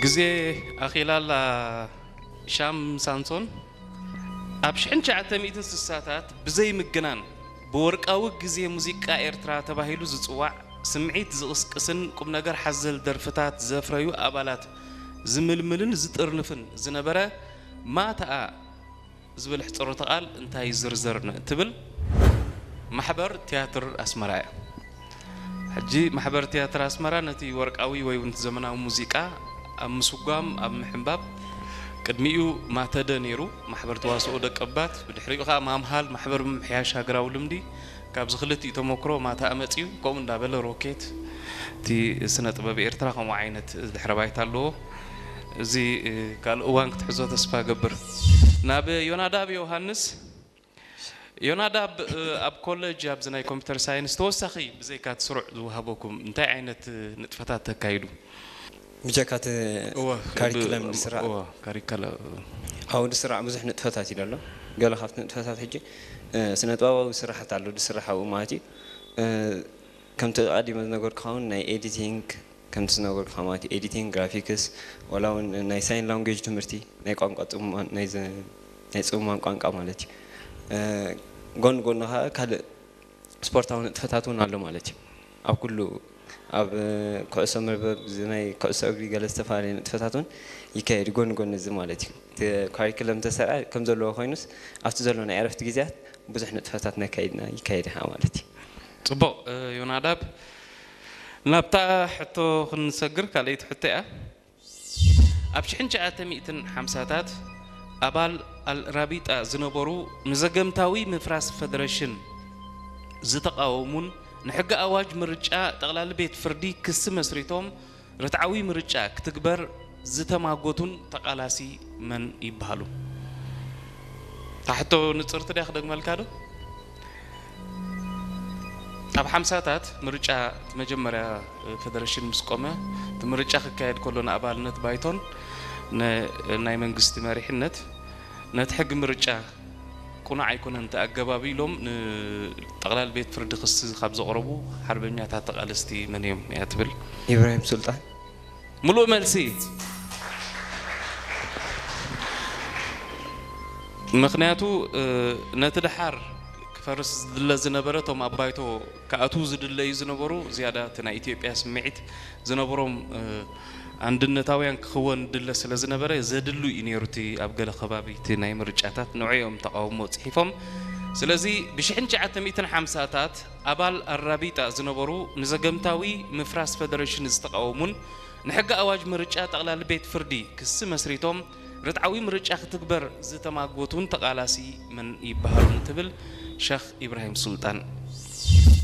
ግዜ ኣኺላላ ሻም ሳንሶን ኣብ ሽሕን ትሽዓተ ሚእትን ስሳታት ብዘይ ምግናን ብወርቃዊ ግዜ ሙዚቃ ኤርትራ ተባሂሉ ዝጽዋዕ ስምዒት ዝቕስቅስን ቁም ነገር ሓዘል ደርፍታት ዘፍረዩ ኣባላት ዝምልምልን ዝጥርንፍን ዝነበረ ማታኣ ዝብል ሕጽሮተ ቃል እንታይ ዝርዘር ትብል ማሕበር ትያትር ኣስመራ እያ። ሕጂ ማሕበር ትያትር ኣስመራ ነቲ ወርቃዊ ወይ እውን ዘመናዊ ሙዚቃ ኣብ ምስጓም ኣብ ምሕንባብ ቅድሚኡ ማተደ ነይሩ ማሕበር ተዋስኦ ደቀባት ብድሕሪኡ ከዓ ማምሃል ማሕበር ምምሕያሽ ሃገራዊ ልምዲ ካብዚ ክልቲኡ ተመክሮ ማታ ኣመፅዩ ከምኡ እንዳበለ ሮኬት እቲ ስነ ጥበብ ኤርትራ ከምኡ ዓይነት ድሕረ ባይታ ኣለዎ። እዚ ካልእ እዋን ክትሕዞ ተስፋ ገብር። ናብ ዮናዳብ ዮሃንስ። ዮናዳብ ኣብ ኮለጅ ኣብዚ ናይ ኮምፒተር ሳይንስ ተወሳኺ ብዘይካ እቲ ስሩዕ ዝወሃበኩም እንታይ ዓይነት ንጥፈታት ተካይዱ? ብጀካ እቲ ካሪክለም ዝስራዕ ካሪከለ ኣብኡ ዝስራዕ ብዙሕ ንጥፈታት እዩ ዘሎ። ገለ ካብቲ ንጥፈታት ሕጂ ስነጥበባዊ ስራሕት ኣሎ ዝስራሕ ኣብኡ ማለት እዩ። ከምቲ ኣቐዲመ ዝነገርኩኻ እውን ናይ ኤዲቲንግ ከምቲ ዝነገርኩኻ ማለት እዩ ኤዲቲንግ፣ ግራፊክስ፣ ዋላ እውን ናይ ሳይን ላንጉጅ ትምህርቲ ናይ ቋንቋ ናይ ጽሙማን ቋንቋ ማለት እዩ። ጎን ጎኑ ከዓ ካልእ ስፖርታዊ ንጥፈታት እውን ኣሎ ማለት እዩ። ኣብ ኩሉ ኣብ ኩዕሶ መርበብ ናይ ኩዕሶ እግሪ ገለ ዝተፈላለዩ ንጥፈታት እውን ይካየድ ጎን ጎን እዚ ማለት እዩ። እቲ ካሪክለም ተሰርዐ ከም ዘለዎ ኮይኑስ ኣብቲ ዘሎ ናይ ዕረፍቲ ግዜያት ብዙሕ ንጥፈታት ነካይድና ይካየድ ኢኻ ማለት እዩ። ጽቡቕ ዮናዳብ፣ ናብታ ሕቶ ክንሰግር ካልኣይቲ ሕቶ እያ። ኣብ ሽሕን ትሽዓተ ሚእትን ሓምሳታት ኣባል ኣልራቢጣ ዝነበሩ ንዘገምታዊ ምፍራስ ፈደረሽን ዝተቓወሙን ንሕጊ ኣዋጅ ምርጫ ጠቕላሊ ቤት ፍርዲ ክሲ መስሪቶም ርትዓዊ ምርጫ ክትግበር ዝተማጎቱን ተቓላሲ መን ይበሃሉ? እታ ሕቶ ንጽርቲ ድያ ክደግመልካ ዶ? ኣብ ሓምሳታት ምርጫ እቲ መጀመርያ ፈደረሽን ምስ ቆመ እቲ ምርጫ ክካየድ ከሎ ንኣባልነት ባይቶን ናይ መንግስቲ መሪሕነት ነቲ ሕጊ ምርጫ ቁኑዕ ኣይኮነን እቲ ኣገባብ ኢሎም ንጠቕላል ቤት ፍርዲ ክሲ ካብ ዘቕረቡ ሓርበኛታት ተቓለስቲ መን እዮም እያ ትብል? ኢብራሂም ሱልጣን። ምሉእ መልሲ። ምኽንያቱ ነቲ ደሓር ክፈርስ ዝድለ ዝነበረ እቶም ኣብ ባይቶ ክኣትዉ ዝድለዩ ዝነበሩ ዝያዳ እቲ ናይ ኢትዮጵያ ስምዒት ዝነበሮም ኣንድነታውያን ክኽወን ድለ ስለ ዝነበረ ዘድሉ እዩ ነይሩ እቲ ኣብ ገለ ከባቢ እቲ ናይ ምርጫታት ንዑ እዮም ተቓውሞ ፅሒፎም። ስለዚ ብሽሕን ትሽዓተ ሚእትን ሓምሳታት ኣባል ኣራቢጣ ዝነበሩ ንዘገምታዊ ምፍራስ ፈደረሽን ዝተቓወሙን ንሕጊ ኣዋጅ ምርጫ ጠቕላሊ ቤት ፍርዲ ክሲ መስሪቶም ርትዓዊ ምርጫ ክትግበር ዝተማጎቱን ተቓላሲ መን ይበሃሉ ንትብል ሸኽ ኢብራሂም ሱልጣን።